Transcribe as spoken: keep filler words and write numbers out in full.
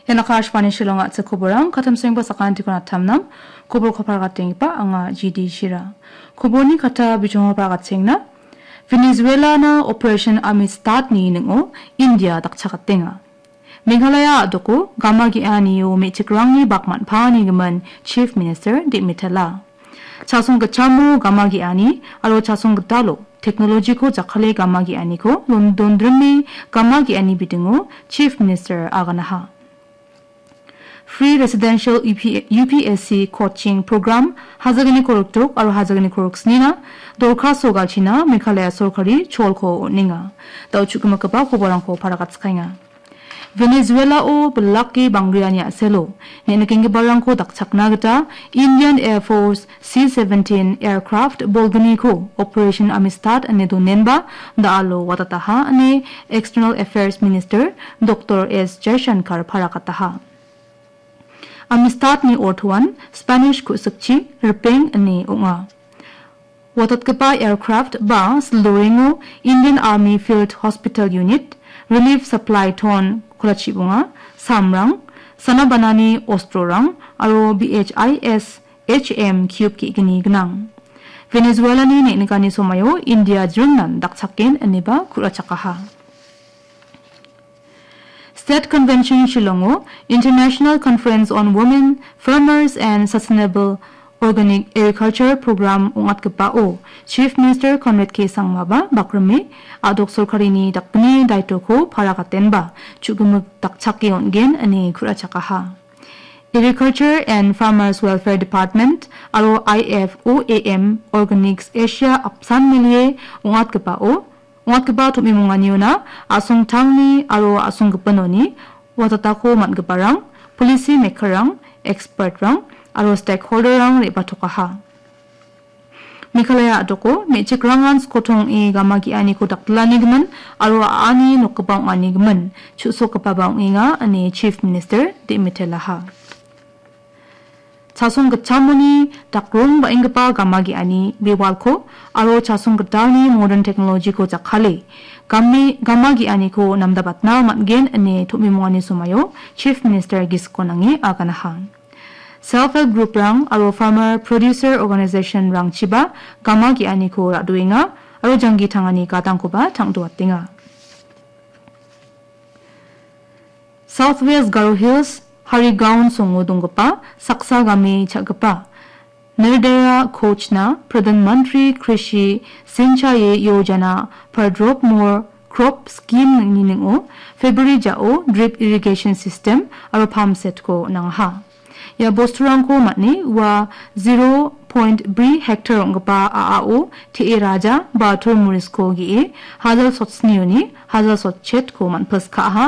Ian Akashvani Shillong a·chik koborang, katamsengba sakantiko natamnam, kobor kopargatenggipa anga G D Shira. Koborni kata bijongo pargatengna, Venezuelana Operation Amistad-ni ning·o India dakchakatenga. Meghalaya a·doko gama ge·anio me·chikrangni bak man·paanigimin Chief Minister Demitela. Chasong gitchamo gama ge·ani aro chasong gitalo technology-ko jakkale gama ge·aniko don-, dondrime gama ge·ani bidingo Chief Minister aganaha. Free Residential U P, U P S C Coaching Program hajagni korokdok aro hajagni koroksnina dorkaso galchina Meghalaya sorkari cholko on·enga. Da·o chu·gimikgipa koborangko paragatskenga. Venezuelao bilake bangriani a·selo ne·nikenggiparangko dakchakna gita Indian Air Force C seventeen aircraft bolgniko Operation Amistad ine donenba da·alo watataha ine External Affairs Minister Doctor S Jaishankar parakataha. Amistad-ni ortoan Spanish ku·sikchi ripeng ine ong·a. Watatgipa aircraft ba sildorengo Indian Army Field Hospital Unit, Relief Supply Ton kolachibonga, samrang, sanabanani ostrorang, aro B H I S H M cube ge·gni gnang. Venezuelani ne·nikani somaio India jringnan dakchaken ineba ku·rachakaha. State Convention Shillongo International Conference on Women Farmers and Sustainable Organic Agriculture Program ong·atgipao Chief Minister Conrad K Sangmaba bakrime a·dok sorkarini dakgni daitoko paragatenba chu·gimik dakchake on·gen ine ku·rachakaha. Agriculture and Farmers Welfare Department aro I F O A M Organics Asia apsan melie ong·atgipao ong·atgipa tom·imonganiona a·songtangni aro a·songgipinoni watatako man·giparang, policy makerrang, expertrang aro stakeholderrang re·batokaha. Meghalaya a·doko me·chikrangan skotong ong·e gama ge·aniko dakdilanigimin aro a·ani nokgipa ong·anigimin chu·sokgipaba ong·enga ine Chief Minister Demitelaha. Chasong gitchamoni dakrong ba·enggipa gama ge·ani bewalko aro chasong gitalni modern technology-ko jakkale game, gama ge·aniko namdabatna man·gen ine tom·imongani somaio Chief Minister gisiko nange aganaha. Self Help Group-rang aro Farmer Producer Organization-rangchiba gama ge·aniko ra·doenga aro janggi tangani gadangkoba tang·doatenga. South West Garo Hills, Harigaon songo donggipa saksa game cha·gipa Nirdaya Kochna Pradhan Mantri Krishi Sinchayi Yojana Pardrop More Crop Scheme-ni ning·o February jao drip irrigation system aro pump set-ko nangaha. Ia bosturangko man·e ua zero point bri hektar ong·gipa a·ao te·e raja ba tormorisko ge·e hajal sotsnioni hajal sotchetko man·pilskaha.